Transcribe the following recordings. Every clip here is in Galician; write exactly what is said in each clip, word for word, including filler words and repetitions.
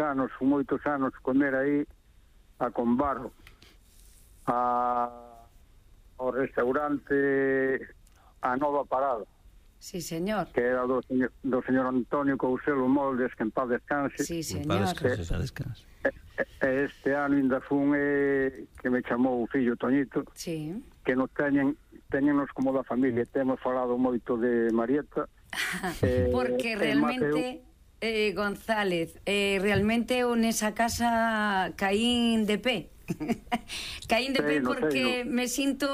anos, moitos anos comer aí a Conbarro, a, ao restaurante A Nova Parada. Sí, señor. Que era do señor, do señor Antonio Couselo Moldes, que en paz descanse. Sí, señor. En paz descanse, en paz descanse. E este ano ainda fun eh, que me chamou o fillo Toñito, sí. que nos teñen, teñenos como da familia. Temos falado moito de Marieta. eh, Porque realmente, eh, González, eh, realmente eu nesa casa caín de pé. Caín de pé porque me sinto,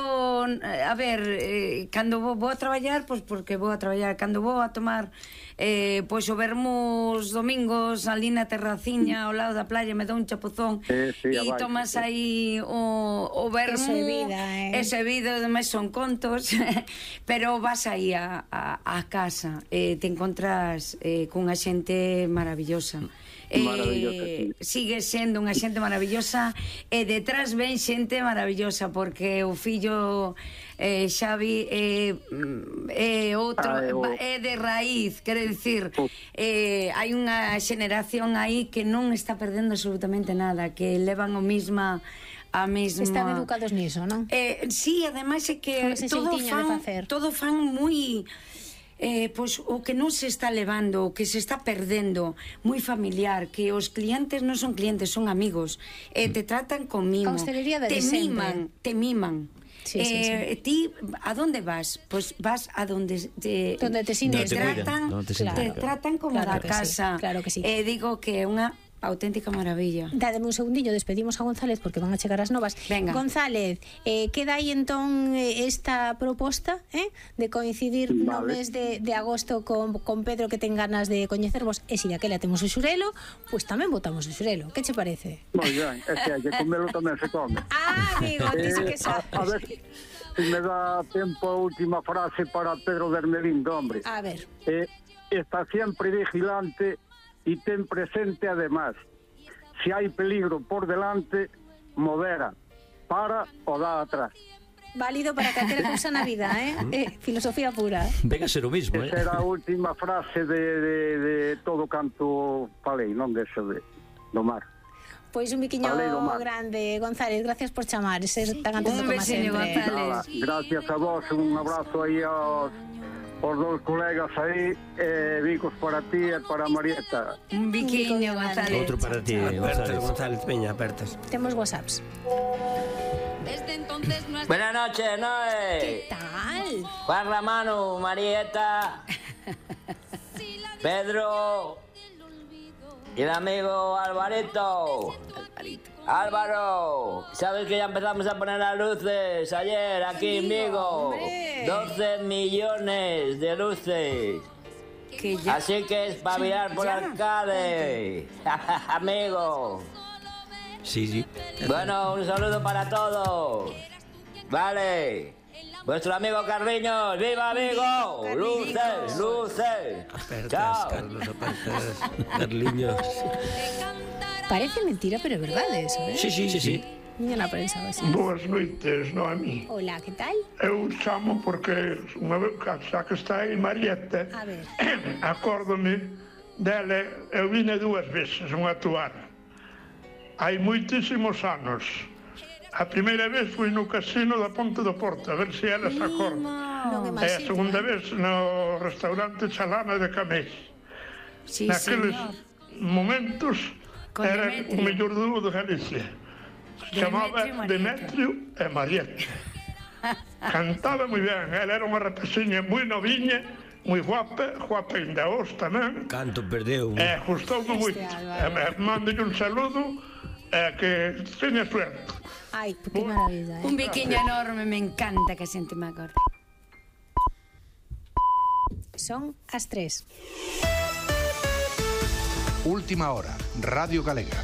a ver, eh, cando vou, vou a traballar, pois porque vou a traballar, cando vou a tomar eh, pois o vermos domingos ali na terraciña ao lado da playa, me dá un chapuzón e sí, sí, tomas aí o, o vermo, ese vida, eh? ese vida, ademais son contos pero vas aí a, a, a casa e eh, te encontras eh, cunha xente maravillosa. Eh, sigue sendo unha xente maravillosa e detrás ven xente maravillosa porque o fillo eh, Xavi é eh, eh, outro ah, eu... é de raíz, quere dicir eh, hai unha xeneración aí que non está perdendo absolutamente nada, que levan o misma a mesma... Están educados niso, non? Eh, sí, ademais é que todo fan, todo fan moi... Eh, pois o que non se está levando, o que se está perdendo, moi familiar, que os clientes non son clientes, son amigos, eh, te tratan con mimo, te miman, te miman. Sí, sí, eh, sí. Ti, a donde vas? Pois pues vas a donde te, donde te, te, te tratan, no te, claro, te tratan como claro da casa. Sí, claro que sí. Eh, digo que é unha auténtica maravilla. Dádeme un segundillo, despedimos a González porque van a chegar as novas. Venga. González, eh, queda aí entón esta proposta eh, de coincidir vale. no mes de, de agosto con, con Pedro, que ten ganas de coñecervos, e se daquela temos o xurelo, pois pues tamén botamos o xurelo. Que che parece? Moi ben, é que hai que comelo tamén se come. Ah, amigo, ti sí que sabes. A, a ver se me dá tempo a última frase para Pedro Bermelindo, hombre. A ver. Eh, está sempre vigilante y ten presente además, si hai peligro por delante, modera, para o dá atrás. Válido para calquera cousa na vida, eh? eh filosofía pura. Venga a ser o mismo, eh? Esa era a última frase de, de, de todo canto falei, non dese de, do mar. Pois un biquiño grande, González, gracias por chamar, ser tan atento como sempre. González. Gracias a vos, un abrazo aí aos os dous colegas aí, eh, bicos para ti e para Marieta. Un biquiño, González. Outro para ti, González. González, veña, apertas. Temos whatsapps. Buenas noches, Noé. ¿Qué tal? Juan Ramano, Marieta, Pedro y el amigo Alvarito. Alvarito. Álvaro, ¿sabes que ya empezamos a poner las luces ayer aquí en Vigo? doce millones de luces. Que ya... Así que espabilar por arcade. Amigo. Sí, sí. Bueno, un saludo para todos. Vale. Vuestro amigo Carliños. ¡Viva Vigo! ¡Luces, luces! Apertas, ¡Chao! Carlos, apertas. Carliños. Parece mentira, pero é verdade eso, eh? Sí, sí, sí, sí. Niña na prensa, así. Boas noites, Noemi. Hola, que tal? Eu chamo porque unha vez xa que está aí Marieta, a ver. acórdome dela, eu vine dúas veces unha actuar. Hai moitísimos anos. A primeira vez fui no casino da Ponte do Porto, a ver se ela se acorda. No. E a segunda vez no restaurante Chalana de Camés. Sí, naqueles señor. momentos Con era Demetrio. o mellor dúo de Galicia. Chamaba Demetrio e Marieta. Cantaba moi ben, ela era unha rapaziña moi noviña, moi guapa, guapa ainda hoxe tamén. Canto perdeu. E gustoume moito. Mando un saludo e que teña suerte. Ai, que maravilla, eh? Un biquiño enorme, me encanta que a xente me acorde. Son as tres. Última hora, Radio Galega.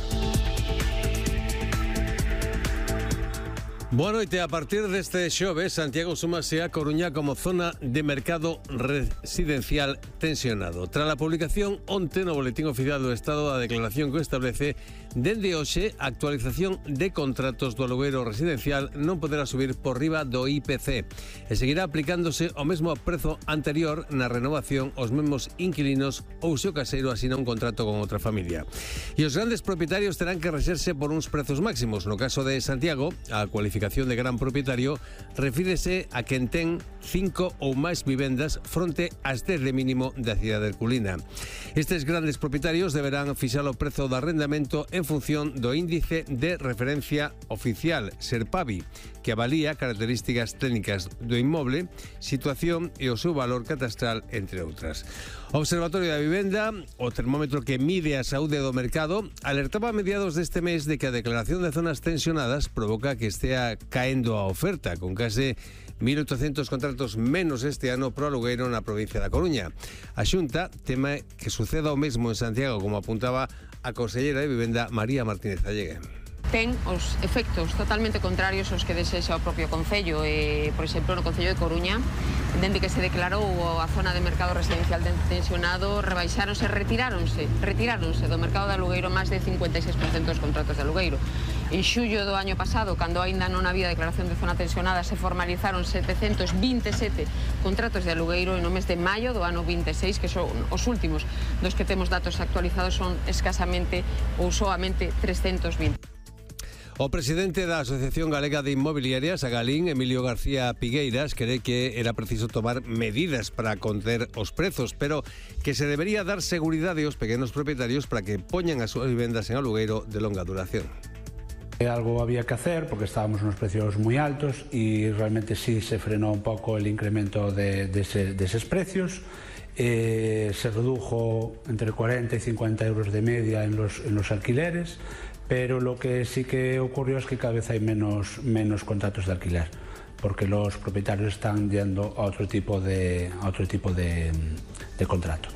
Boa noite. A partir deste xoves, Santiago súmase a Coruña como zona de mercado residencial tensionado. Tras a publicación onte no Boletín Oficial do Estado da declaración que establece dende hoxe a actualización de contratos do alugueiro residencial non poderá subir por riba do I P C e seguirá aplicándose o mesmo prezo anterior na renovación aos mesmos inquilinos ou se o caseiro asina un contrato con outra familia. E os grandes propietarios terán que rexerse por uns prezos máximos. No caso de Santiago, a cualificación de gran propietario refírese a quen ten cinco ou máis vivendas fronte ás dez de mínimo da cidade herculina. Estes grandes propietarios deberán fixar o prezo do arrendamento en función do índice de referencia oficial Serpavi, que avalía características técnicas do inmoble, situación e o seu valor catastral, entre outras. O Observatorio da Vivenda, o termómetro que mide a saúde do mercado, alertaba a mediados deste mes de que a declaración de zonas tensionadas provoca que estea caendo a oferta, con case mil oitocentos contratos menos este ano pro alugueiro na provincia da Coruña. A Xunta teme que suceda o mesmo en Santiago, como apuntaba a consellera de Vivenda María Martínez Allegue. Ten os efectos totalmente contrarios aos que desexa o propio Concello. Eh, por exemplo, no Concello de Coruña, dende que se declarou a zona de mercado residencial tensionado, rebaixáronse, retiráronse, retiráronse do mercado de alugueiro máis de cincuenta e seis por cento dos contratos de alugueiro. En xullo do año pasado, cando aínda non había declaración de zona tensionada, se formalizaron setecentos vinte e sete contratos de alugueiro, e no mes de maio do ano vinte e seis, que son os últimos dos que temos datos actualizados, son escasamente ou soamente trescentos vinte. O presidente da Asociación Galega de Inmobiliarias, a Galín, Emilio García Pigueiras, cree que era preciso tomar medidas para conter os prezos, pero que se debería dar seguridade aos pequenos propietarios para que poñan as súas vivendas en alugueiro de longa duración. Algo había que hacer porque estábamos unos precios muy altos y realmente sí se frenó un poco el incremento de, de, ese, de esos precios. Eh, se redujo entre cuarenta y cincuenta euros de media en los, en los alquileres, pero lo que sí que ocurrió es que cada vez hay menos, menos contratos de alquiler, porque los propietarios están yendo a otro tipo de, a otro tipo de, de contrato.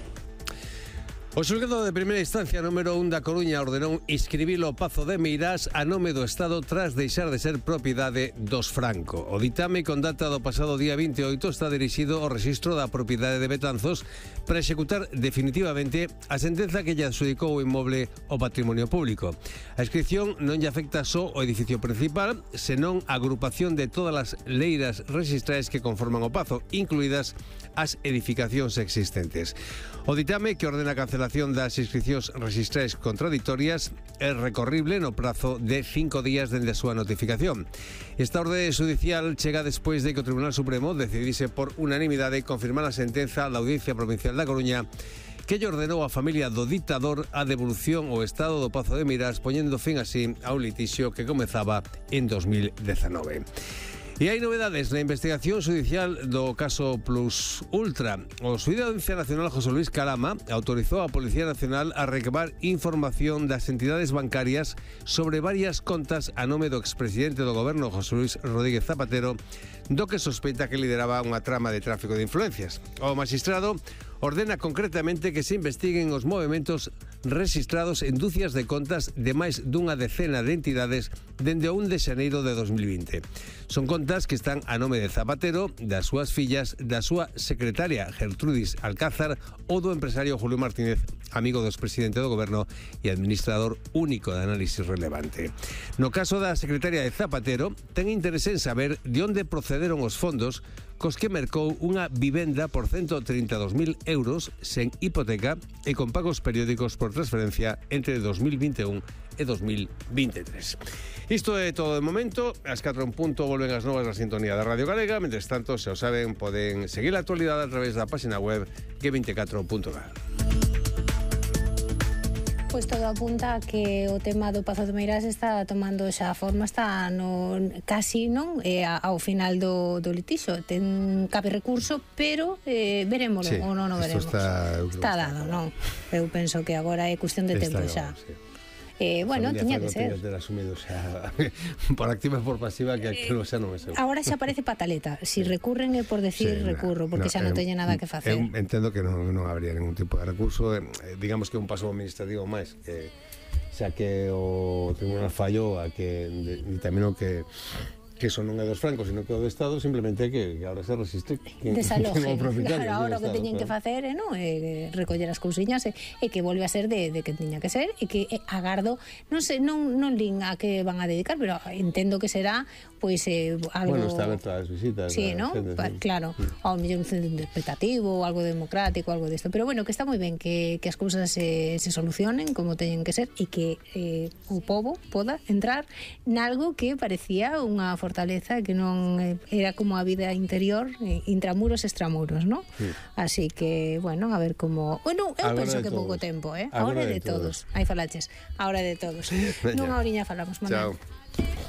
O xulgado de primeira instancia número un da Coruña ordenou inscribir o Pazo de Meirás a nome do Estado tras deixar de ser propiedade dos Franco. O ditame con data do pasado día vinte e oito está dirixido ao rexistro da propiedade de Betanzos para executar definitivamente a sentenza que lle adxudicou o inmoble ao patrimonio público. A inscripción non lle afecta só o edificio principal, senón a agrupación de todas as leiras rexistrais que conforman o Pazo, incluídas as edificacións existentes. O ditame, que ordena a cancelación das inscripcións rexistrais contraditorias, é recorrible no prazo de cinco días dende a súa notificación. Esta orde judicial chega despois de que o Tribunal Supremo decidise por unanimidade confirmar a sentenza da Audiencia Provincial da Coruña que lle ordenou á familia do dictador a devolución ao Estado do Pazo de Meirás, poñendo fin así a un litixio que comezaba en dos mil dezanove. E hai novedades na investigación judicial do caso Plus Ultra. O xuíz da Audiencia Nacional José Luis Calama autorizou á Policía Nacional a recabar información das entidades bancarias sobre varias contas a nome do expresidente do goberno José Luis Rodríguez Zapatero, do que sospeita que lideraba unha trama de tráfico de influencias. O magistrado ordena concretamente que se investiguen os movementos registrados en dúcias de contas de máis dunha decena de entidades dende o un de xaneiro de dos mil vinte. Son contas que están a nome de Zapatero, das súas fillas, da súa secretaria Gertrudis Alcázar ou do empresario Julio Martínez, amigo do expresidente do goberno e administrador único de análisis relevante. No caso da secretaria de Zapatero, ten interese en saber de onde procederon os fondos cos que mercou unha vivenda por ciento trinta e dous mil euros sen hipoteca e con pagos periódicos por transferencia entre dos mil vinte e un e dos mil vinte e tres. Isto é todo de momento. Ás catro en punto volven as novas da sintonía da Radio Galega. Mentres tanto, se o saben, poden seguir a actualidade a través da página web ge veinticuatro punto gal. Pois todo apunta a que o tema do Pazo de Meirás está tomando xa forma, está no, casi non eh, ao final do, do litixo. Ten cabe recurso, pero eh, verémoslo, sí, ou non o veremos. Está, está dado, non? Eu penso que agora é cuestión de tempo xa. Sí. Eh, bueno, tiña que ser. Asumido, o sea, por activa e por pasiva, que aquilo xa non é seguro. Agora xa parece pataleta. Si recurren é por decir sí, recurro, porque no, xa non teña nada que facer. Eu entendo que non, non habría ningún tipo de recurso. Eh, digamos que un paso administrativo máis. Que, xa que o Tribunal fallou a que determinou que que eso non é dos francos, sino que é do Estado, simplemente que, que ahora se resiste que, desaloje, que claro, ahora o que teñen que facer é, non, é recoller as cousiñas e, e que volve a ser de, de que tiña que ser e que e, agardo, non sei, non, non lin a que van a dedicar, pero entendo que será pois eh, algo... Bueno, está aberto as visitas. Sí, ¿no? Xente, Pa, sí. Claro, mm. ao mellor un centro interpretativo, algo democrático, algo desto, pero bueno, que está moi ben que, que as cousas se, se solucionen como teñen que ser e que eh, o pobo poda entrar nalgo que parecía unha fortaleza que non eh, era como a vida interior, eh, intramuros, extramuros, ¿no? Sí. Así que, bueno, a ver como... Bueno, eu Agora penso que todos. pouco tempo, eh? Agora Agora de, de todos. todos. Aí falaches, agora de todos. Nunha oriña falamos, Manuel. Chao.